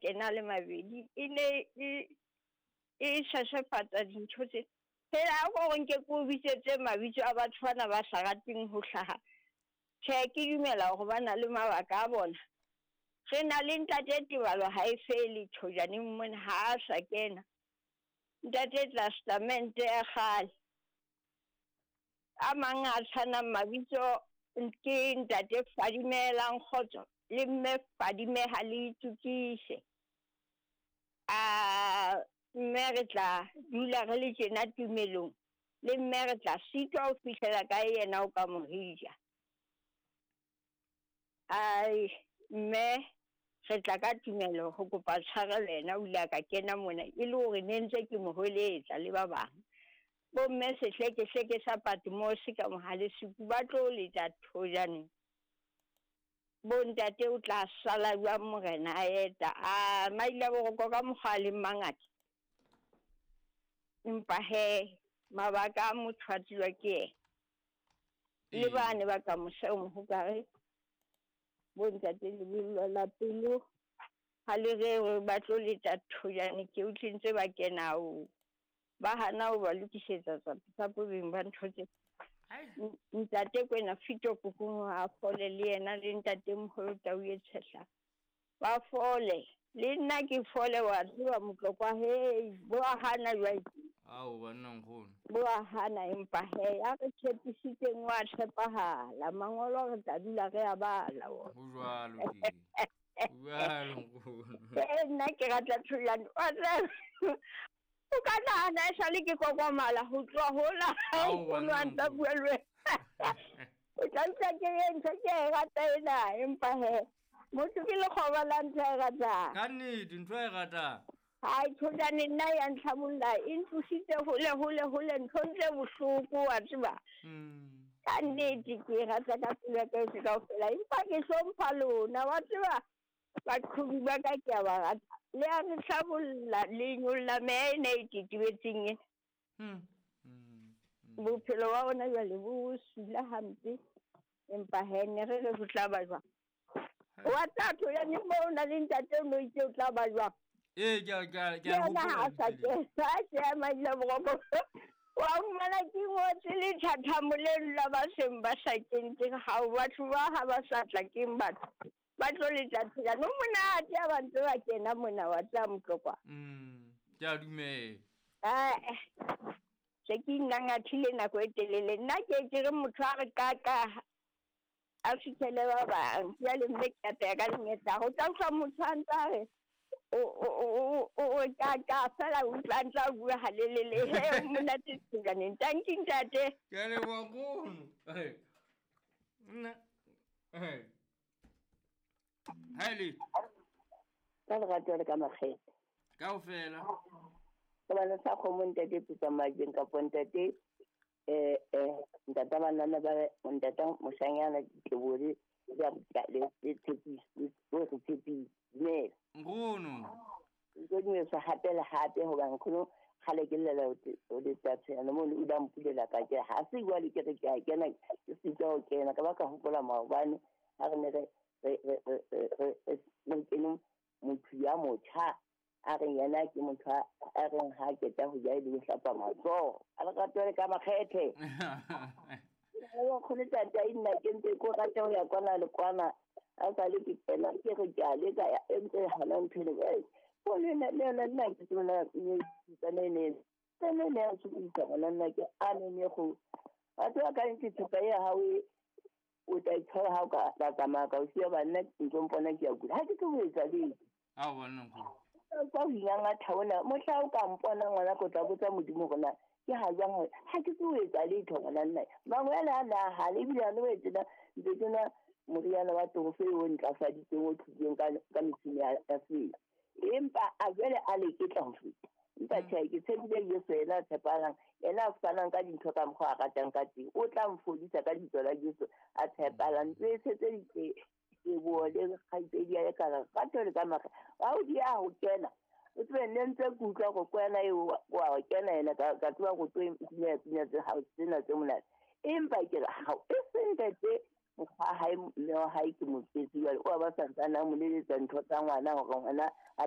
kena le mabedi e ne e shashafatsa dintho tse fela a ko gore nke ke o bitsetse mabitso a batho bana ba sa rateng ho hlaha. Tjhe, ke dumela hore ba na le mabaka a bona. Re na le ntate Tebalo ha e fele thojaneng mona ha a sa kena. Ntate Testamente ya kgale. A mang a tshwanang mabitso ke ntate Fadimelang Kgotso le mme Fadimeha le Itukise. A mme re tla dula re le tjena tumelong le mme re tla sitwa ho fihlela kae yena o ka morija. Ai mme re tla ka tumelo ho kopa tshwarelo yena o ile a ka kena mona e le hore ne ntse ke mo hweletsa le ba bang. Bomme sehlekehleke sa Patmos ka mohale suku ba tlo leta thojaneng. Bontate o tla sala jwang morena a eta a maile boroko ka mokgwa a leng mangata. Empa he mabaka a motho a tsejwa ke yena. Le bane ba ka mose o mohokare bontate lebollo la pelo ha le re ba tlo leta thojane ke utlwe ntse ba kena o ba hana ho ba lokisetsa tsa bobeng ba ntho tse. Ntate kwena fito kokong a fole le yena le ntate moholo tau e tshehla ba fole le nna ke fole wa tseba motlokwa hei bo a hana jwale. Ao banna nkgono bo a hana empa he ya re tshepisitseng wa tshepahala mangolo re tla dula re a bala wona. Ho jwalo ke jwalo nkgono. Nna ke rata thulano wa tseba o ka nahana e sale ke kokomala ho tloha hola nkgono a ntsa bua le wena. O tla utlwa ke re ntho ke e rata ena empa he motho ke lekgoba la ntho e ratang. Ka nnete ntho e ratang. Hai thojane nna ya ntlhabolla e ntlositse hole hole hole nthong tse bohloko wa tseba. Ka nnete ke e rata ka pelo ya ka yohle kaofela empa ke hlompha lona wa tseba baqhobi ba ka ke a ba rata. Le a re hlabolla le nyolla meya ena e tetebetseng ena. Bophelo ba bona jwale bo sula hampe empa he ne re re ho tla ba jwang. Wa tla thojane moo o na le ntate o no itse o tla ba jwang. Ee ke a yena ha sa ke maile boroko wa fumana ke ngotse le thathamo leno la ba seng ba sa kentseng hao batho ba ha ba sa tla keng batho ba tlo letla thojane o monate ha ba ntse ba kena mona wa tla motlokwa. Ke a dumela. Se ke ingangathile nako e telele nna ke re motho a re kaka a fihlele ba bang jwale mme ke apeya ka lenyetla ho tla utlwa motho a ntse a re o ka fela utlwa ntse a bua halelele he monate thojaneng. Tanki ntate. Ke a leboha nkgono. Nna ha le ka lerato le ka makgethe kaofela gobane sa kgomo ntate pitsa majeng kapo ntate ntata banana ba ntata moshanyana ditlebole le tshepiso o re tshepise dumela nkgono ntse dumedisa hape le hape hobane nkgono kgale ke llela o letsatshena mo o la mpulela ka ke ha se jwale ke re ke a kena ke sitwa ho kena ka ba ka hopola maobane ha re ne re re kene motho ya motjha a re yena ke motho a reng ha keta ho ja le ho hlapa matsoho a le rato le ka makgethe. O kgone tata nna ke ntse ko rata ho ya kwana le kwana a sa le ke kena ke re ke a leka e ntse hana ntho le o le le nna ke tsona ne ne ne ne a tsubisa ngwana nna ke a ne ne go batho ba ka ntse thepa ya hao o tla itshwara ha o ka tsamaya ka o siya banna ntlo mpona ke a kula ha ke tlo ho etsa letho. Ao banna nkgono ka ho ingangatha ona mohla o ka mpona ngwana ko tla botsa Modimo hore na ke ha jwang hore ha ke tlo ho etsa letho ngwana nna mangwele a na hale ebile a no etsena ntse ke nwa moriana wa torofe o ntlafaditseng o thusitseng ka metjhini ya setso empa a jwale a leketla ho feta. Empa tjhe ke tshepile Jesu yena a tshepahalang yena a fanang ka dintho ka mokgwa a ratang ka teng o tla mfodisa ka lebitso la Jesu a tshepahalang. Ntse tshetse diteboho le kgaitsedi ya ka rato le ka makgethe ha o di a ho kena o tsebe ne ntse ke utlwa go kwena eo wa kena yena ka tseba go tlo pina tse ha tsena tse monate empa ke re ha e seng ntate mokgwa hae mme wa hae ke motswetse jwale o ba santsane a mo leletsa ntho tsa ngwana hore ngwana a